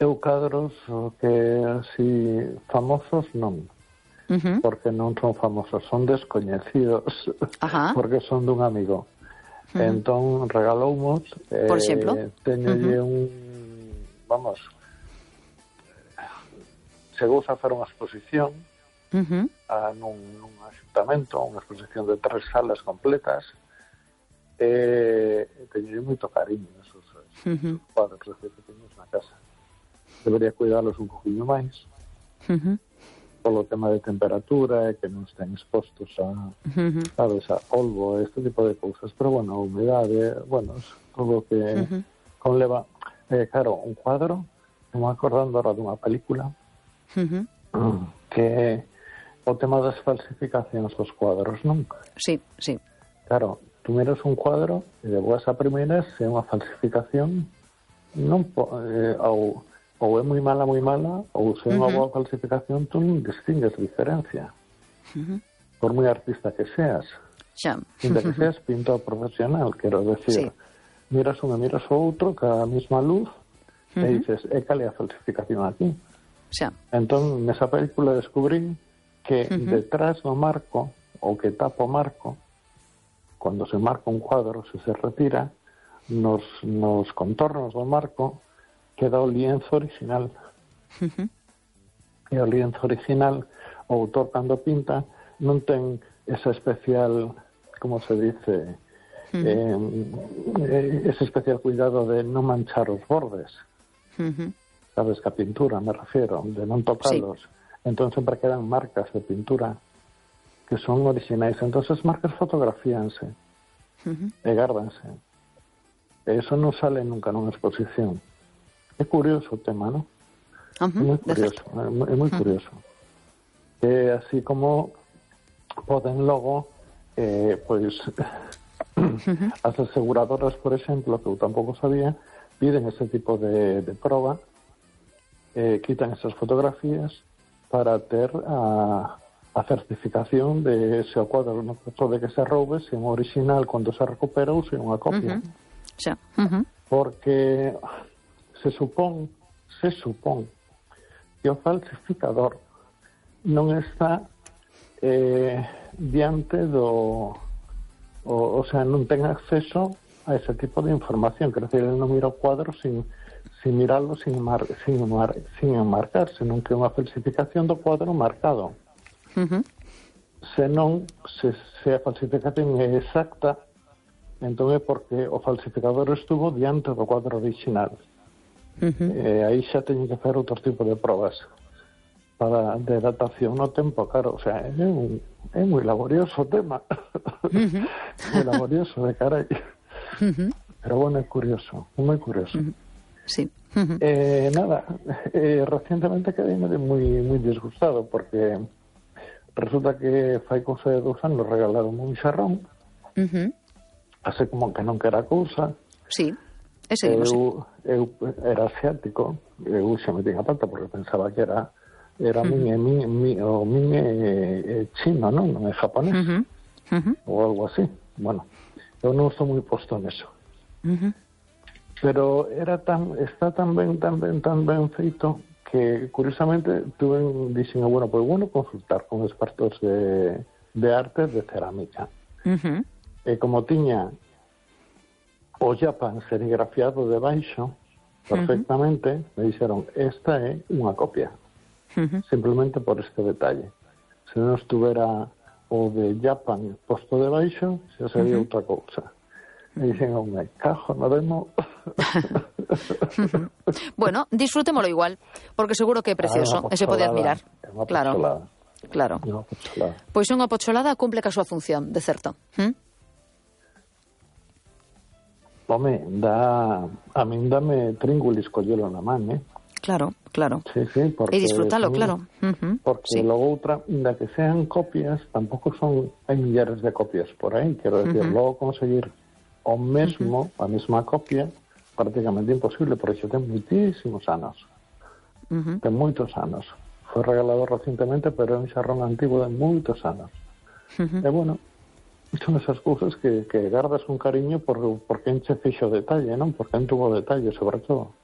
Eu cadros que así famosos non, porque non son famosos, son descoñecidos, porque son dun amigo. Entón regaloumos, por exemplo, teñolle vamos, chegou a facer unha exposición nun axuntamento, unha exposición de 3 salas completas, teñolle moito cariño esos cuadros que teños na casa. Debería cuidalos un poquinho máis polo tema de temperatura e que non estén expostos a sabes, a polvo, este tipo de cousas, pero bueno, a humedade, bueno, todo o que conleva claro, un cuadro, me acordando ahora dunha película que o tema das falsificacións dos cuadros, non? Sí, sí. Claro, tú miras un cuadro e de boas a primeiras se é unha falsificación non ou é moi mala, ou se é unha boa falsificación, tú non distingues diferencia. Por moi artista que seas. Ainda que seas pintor profesional, quero decir. Miras un e miras o outro, ca mesma luz, e dices, cal é a falsificación aquí? Entón, nesa película descubrí que detrás do marco, ou que tapa o marco, cando se marca un cuadro, se retira, nos contornos do marco, queda o lienzo original. E o lienzo original, o autor cando pinta non ten esa especial, como se dice, ese especial cuidado de non manchar os bordes. Sabes, que a pintura, me refiero, de non tocalos. Entón sempre quedan marcas de pintura que son originais. Entón as marcas fotografíanse e gárdanse. E iso non sale nunca nunha exposición. É curioso o tema, non? É moi curioso, é moi curioso. Así como poden logo, pois, as aseguradoras, por exemplo, que eu tampouco sabía, piden ese tipo de proba, quitan esas fotografías para ter a certificación de se o cuadro no caso de que se roube, se é un original cando se recupera ou se é unha copia. Porque se supón que o falsificador non está diante do o sea, non ten acceso a ese tipo de información, quer dizer, ele non mira o cuadro sin mirarlo, sin enmarcar, senón que é unha falsificación do cuadro marcado. Senón, se a falsificación é exacta, entón é porque o falsificador estuvo diante do cuadro original. Aí xa teñen que facer outro tipo de probas de datación no tempo, claro, o sea, é moi laborioso o tema. Moi laborioso, de carai. Pero bueno, é curioso, é moi curioso. Nada, recientemente quedei moi disgustado porque resulta que fai cousa de 2 anos regalaron un xarrón, así como que non quera cousa. Eu era asiático, eu xa me tinha pata porque pensaba que era min chino, non é japonés, ou algo así. Bueno, eu non estou moi posto neso. Pero está tan ben feito que, curiosamente, dixen, bueno, consultar con expertos de arte de cerámica. E como tiña o Japan serigrafiado debaixo, perfectamente, me dixeron, esta é unha copia. Simplemente por este detalle. Se non estuvera o de Japan posto debaixo, xa sería outra cousa. Me dicen, me cajo, no demo. Bueno, disfrutémolo igual, porque seguro que é precioso, e se pode admirar. Claro. Pois unha pocholada cumple ca súa función, de certo. Home, a min dame tríngulis collelo na man, Claro. Sí, porque... E disfrutalo, claro. Porque logo outra, inda que sean copias, tampouco hai millares de copias por aí, quero decir, logo conseguir o mesmo, a mesma copia, prácticamente imposible, porque xa ten moitísimos anos. Ten moitos anos. Foi regalado recientemente, pero é un xarrón antigo de moitos anos. E bueno, son esas cousas que gardas un cariño porque enche fixo detalle, non? Porque en tuvo detalle, sobre todo.